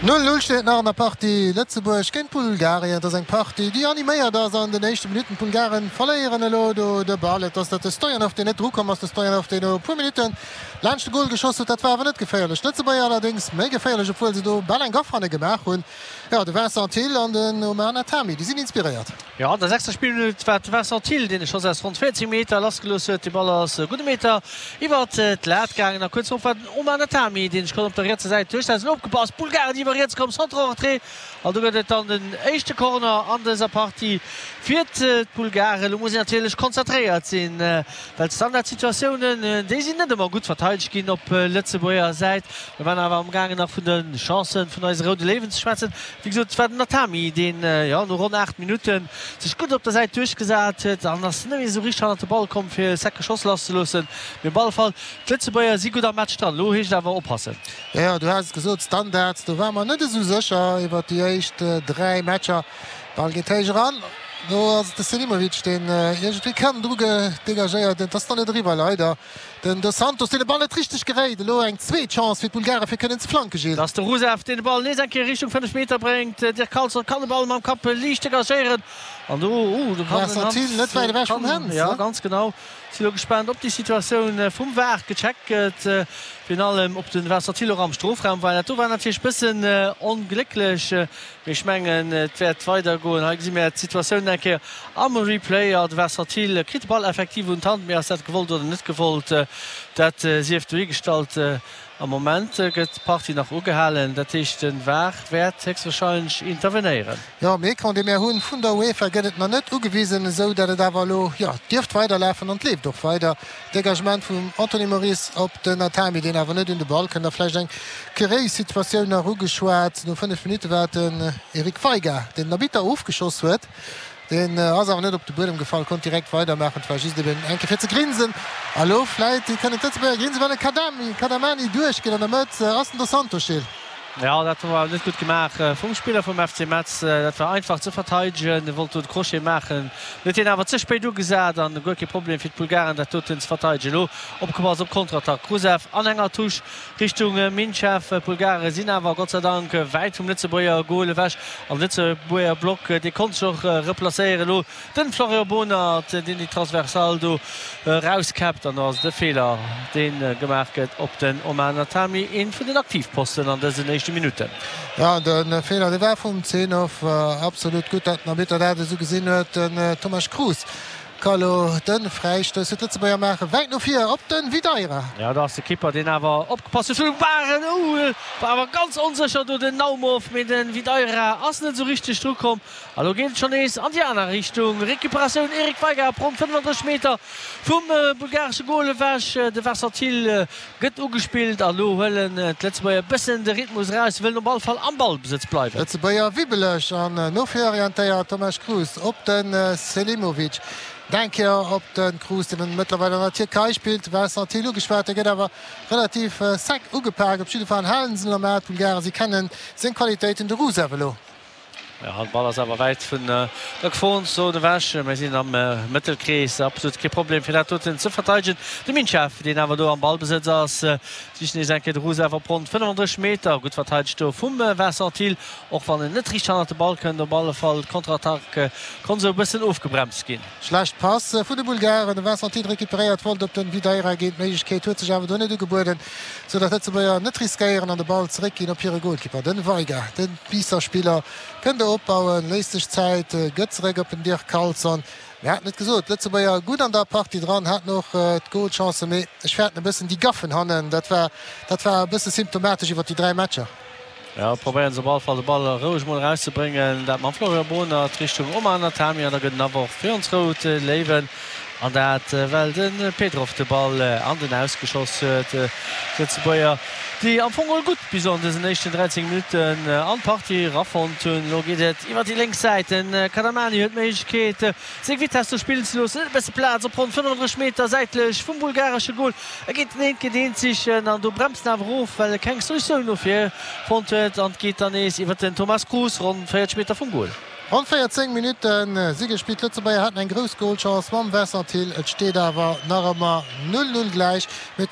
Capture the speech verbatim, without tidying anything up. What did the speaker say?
Null Null steet et nach an der Partie Lëtzebuerg géint Bulgarien. Et ass eng Partie, déi animéiert ass an den éischte Minutten. D'Bulgaren verléieren elo do de Ball. Et ass dat de Stojanov, deen net drukomm ass. De Stojanov, deen no e puer Minutten laanscht de Gol geschoss huet. Dat war awer net geféierlech. D'Lëtzebuerger allerdéngs méi geféierlech, obwuel se do bal eng Gaff hanne gemaach hunn. Jo, de Vincent Thill an den Omar Natami, déi sinn inspiréiert. Jo, an der sechster Spillminutt war et de Vincent Thill, deen e Schoss aus ronn véierzeg Meter lassgelooss huet. De Ball ass e gudde Meter iwwert d'Lat gaangen a kuerz drop war den Omar Natami, deen sech konnt op der rietser Säit duerchsetzen. Opgepasst, d'Bulgaren iwwer riets komm, Centre en retrait an do gëtt et dann den éischte Corner an dëser Partie fir d'Bulgaren. Elo muss een natierlech konzentréiert sinn, well d'Standardsituatiounen, déi sinn net ëmmer gutt verteidegt ginn op Lëtzebuerger Säit. Mir waren awer amgaangen nach vun de Chancen vun eise Roude Léiwen ze schwätzen. Wéi gesot, et war den Natami, deen, jo, no ronn aacht Minutte sech gutt op der Säit duerchgesat huet an ass net méi esou richteg hannert de Ball komm, fir e secke Schoss lasszeloossen. Mee op alle Fall, d'Lëtzebuerger si gutt am Match dran. Elo heescht et awer oppassen. Jo, du has et gesot, Standards, do ware mer net esou sécher iwwert déi éischt dräi Matcher. Ball geet héich eran, do ass et de Selimovic, deen iergendwéi kann dru degagéiert. Et ass dann net eriwwer, leider. Den Dos Santos, deen de Ball net richteg geréit. Elo eng zweet Chance fir d'Bulgare fir kënnen ze flanke, Gilles. Et ass de Rusev, deen de Ball nees eng Kéier Richtung fënnef Meter bréngt. Dirk Carlson kann de Ball mam Kapp liicht degagéieren an do, uh, do kann den Hans, net wäit ewech vum Hens, ja, ganz genau. Si lo gespaant, ob déi Situatioun vum var gecheckt gëtt, virun allem ob de Vincent Thill och am Strofraum war. Dat do war natierlech bëssen onglécklech, mee ech mengen, et wäert weidergoen. Hei gesi mir d'Situatioun eng Kéier am Replay. Jo, de Vincent Thill kritt de Ball effektiv un d'Hand, mee ass dat gewollt oder net gewollt, dat sief dohigestallt. Am Moment gëtt d'Partie nach ugehalen, dat heescht den var wäert héchstwahrscheinlech intervenéieren. Jo, am Ecran dee mär hunn vun der UEFA gëtt et nach net ugewisen, esou dat et awer elo, jo, dierft weiderlafen an et leeft och weider. Degagement vum Anthony Moris op den Atami, deen awer net un de Ball kënnt. A vläicht eng kuréis Situatioun nach ugeschwat, no fënnef Minutte war et den Eric Veiga, deen den Arbitter ofgeschoss huet. Deen ass awer net op de Buedem gefall, konnt direkt weidermaachen. Et war just eben eng Kéier fir ze grinsen. A lo vläit kënnen d'Lëtzebuerger grinsen, well de Kadamani duerchgeet. An der Mëtt ass den Dos Santos, Gilles. Jo, dat war net gutt gemaach vum Spiller vum F C Metz. Dat war einfach ze verteidegen. E wollt do de Crochet maachen, huet hien awer ze spéit ugesat an guer kee Problem fir d'Bulgaren, dat doten ze verteidegen. Elo opgepasst op Konterattack. Rusev an enger Touche Richtung Minchev. D'Bulgare sinn awer Gott sei Dank wäit vum Lëtzebuerger Gol ewech an de Lëtzebuerger Block, dee konnt sech och replacéieren. Elo den Florian Bohnert, deen déi Transversale do erauskäppt an do ass et e Feeler, dee gemaach gëtt op den Omar Natami, ee vun den Aktivposten an dësen éischte Minutten. Jo, de Feeler, dee war vum Zenov. Absolut gutt, datt den Arbitter dat esou gesinn huet. Den Tomasz Cruz Ka lo de Fräistouss fir d'Lëtzebuerger maachen. Wäit no vir op de Videira. Jo, do ass de Kipper, deen awer opgepasst huet. Vun Waren, ouh, war awer ganz onsécher do den Naumov, mee de Videira ass net esou richteg dru komm. A lo geet et schonn nees an déi aner Richtung. Recuperatioun Eric Veiga op ronn fënnefandrësseg Meter vum bulgaresche Gol ewech. De Vincent Thill gëtt ugespillt a lo huelen d'Lëtzebuerger e bëssen de Rhythmus eraus, wëllen op all Fall am Ballbesëtz bleiwen. Lëtzebuerger wibbeleg an no vir orientéiert. Tomasz Cruz op de Selimovic. Eng Kéier op de Cruz, deen mëttlerweil an der Tierkei spillt. Vincent Thill ugeschwat, dee gëtt awer relativ sec ugepak. Op jidde Fall halen se en am A, d'Bulgaren. Si kennen seng Qualitéiten, de Rusev elo. Jo, de Ball ass awer wäit vun der Geforenzon ewech. Mir sinn am Mëttelkrees, absolut kee Problem fir dat doten ze verteidegen. De Minchev, deen awer do am Ballbesëtz ass, sicht nees eng Kéier de Rusev op ronn fënnefandrësseg Meter. Gutt verteidegt do vum Vincent Thill, och wann en net riicht hannert de Ball kënnt. Op alle Fall, d'Konterattack konnt esou e bëssen ofgebremst ginn. Schlecht Pass vun de Bulgaren, de Vincent Thill recuperéiert, wollt op den Videira ginn, d'Méiglechkeet huet sech awer do net ugebueden, sou datt d'Lëtzebuerger net riskéieren an de Ball zeréckginn op hire Goalkeeper, den Veiga. De Biisser Spiller kënnt do opbauen, léisst sech Zäit, gëtt zeréck op den Dirk Carlson. Mir haten et gesot, d'Lëtzebuerger gutt an der Partie dran, haten och d'Goalchancen, mee ech fäerten e bëssen déi Gaffen hannen, dat war dat war e bësse symptomatesch iwwer déi dräi Matcher. Jo, probéieren se op alle Fall de Ball roueg mol erauszebréngen. Dat mam Florian Bohnert Richtung Omar Natami an da gëtt en Aworf fir ons Rout Léiwen. An dat well de Petrov de Ball an den Aus geschoss huet. D'Lëtzebuerger, déi am Fong geholl gutt bis an dësen éischten dräizéng Minutten an d'Partie erafonnt hunn. Elo geet et iwwer déi lénks Säit. De Kadamani huet d'Méiglechkeet seng Vitess do spillen ze loossen. Huet e bësse Plaz op ronn fënnefandrësseg Meter säitlech vum bulgaresche Gol. E geet den eent géint eent sichen an do bremst en awer of, well e keng Solutioun no vir fonnt huet an et geet dann nees iwwer den Thomas Cruz ronn véierzeg Meter vum Gol. Ronn véierzéng Minutte si gespillt. D'Lëtzebuerger haten eng grouss Golchance mam Vincent Thill. Et steet awer nach ëmmer null, null gläich. Mee